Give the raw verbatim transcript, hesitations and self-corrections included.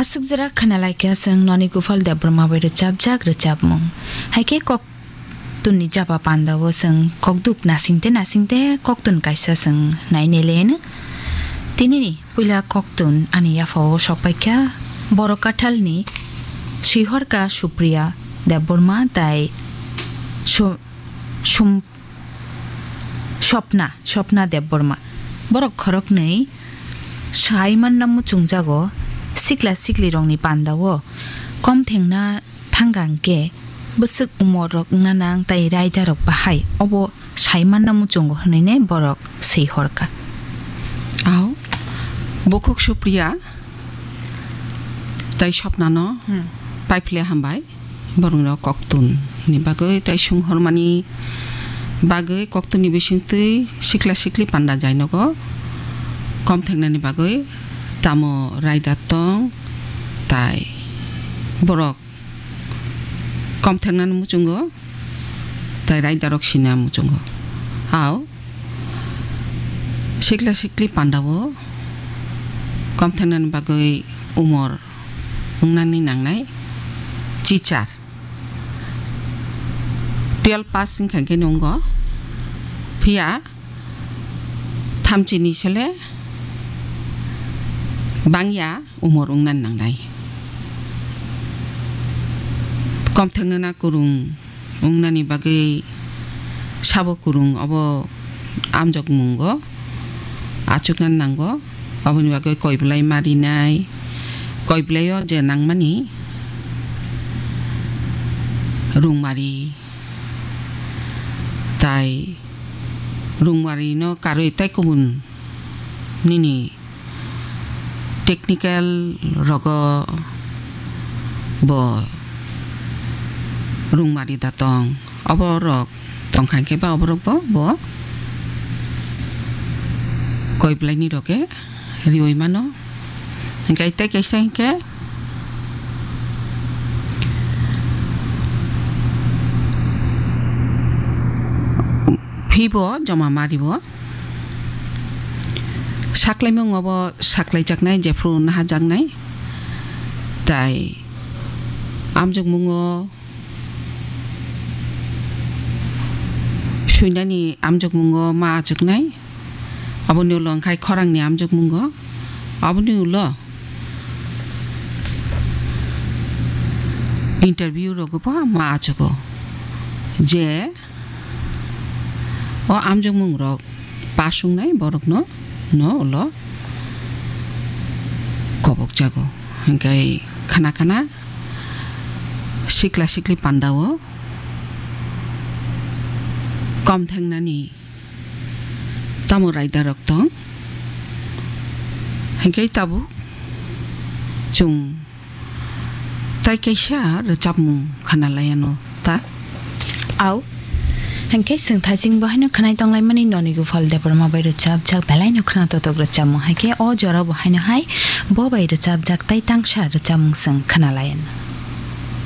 Aswk jora khwnalaikha chwng Noni Gopal Debbarma bai rwchapjak rwchapmung. Haikhe kok tunni jaba pandao chwng kokduk nasingte nasingte koktun kaisa chwng naineleno. Tinini puila koktun ani yaphao sokpaikha Borok Kathalni Swihorka Supriya Debbarma tai Su-, Sum-, Swapna, Swapna Debbarma. Borok khoroknwi sai manna muchungjago, sikla siklirokni pandao kom thengna thangkha hwnkhe bwswk umorrok wngna nang tai raidarok bahai obo sai manna muchungo hwnwi borok swi horkha. Aw, bukhuk Supriya tai Swapnano Hmm. paiphle hambai. Borokno koktun ni bagwi tai sung hormani bagwi koktunni bisingtwi sikla sikli panda jai nogo kom thengnani bagwi tamo raida tong tai borok kom thengnani muchungo tai raidarok sina muchungo. Aw sikla sikli pandao kom thengnani bagwi umor wngnani nangnai chichar. Twelve pass wngkha khe nungo. Phiya thamchini sele bangya umor wngnani nangnai. Kom thengnana kurung wngnani bagwi sabo kurung obo amjokmungo achuknani nango. Aboni bagwi koi belai marinai, koi belaio je nangmani rungmari tai rungmarino karwi tai kubun nini technical rogo bo rungmari da tong. Oborok tongkha hwnkhe ba oborok bo, bo koi belaini rok khe riui mano. Hwnkhe tei kaisa hwnkhe phibo joma mario. Saklaimung obo saklaijaknai, jephru nahajaknai. Tai amjokmungo suinani amjokmungo ma achuknai. Aboni ulo wngkhai khorangni amjokmungo. Aboni ulo interview rogo bo ma achugo je o amjokmung rok pass wngnai borokno no ulo kobokjago. Hwnkhe khana khana sikla sikli pandao kom thengnani tamo raida rok tong. Hwnkhe tabuk chwng tai kaisa rwchapmung khana laiano ta. Au. Hwnkhe chwng thaiching bo haino khwnai tonglaimani Noni Gopal Debbarma bai rwchapjak belai no khwna totok rwchapmung. Haikhe o jora bo haino hai bo bai rwchapjak tai tangsa rwchapmung chwng khwna laiano.